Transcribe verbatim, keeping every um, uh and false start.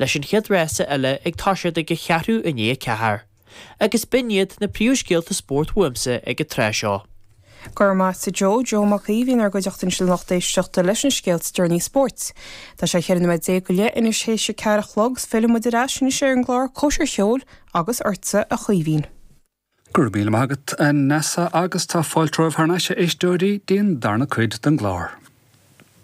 leis an chéad rása eile ag toiseacht ag a cheathrú i ndiaidh a ceathair. Agus b'in iad na príomhscéalta spóirt uaimse ag an tráth seo. Go raibh maith agat Joe Joe Mac Aoidh inár gcuideachta ansin lucht éisteachta leis an scéalta deireanacha spóirt. Tá sé cheithre nóiméad déag go leith anois théis a ceathair a chlog filleann muid ar ais anois ar an gclár Cóisir Cheoil agus ortsa a Chaoimhín. Gur mí agat an nesa agus tá fáiltróibh thar n-ais éisteoirí díon darna cuid den gclár.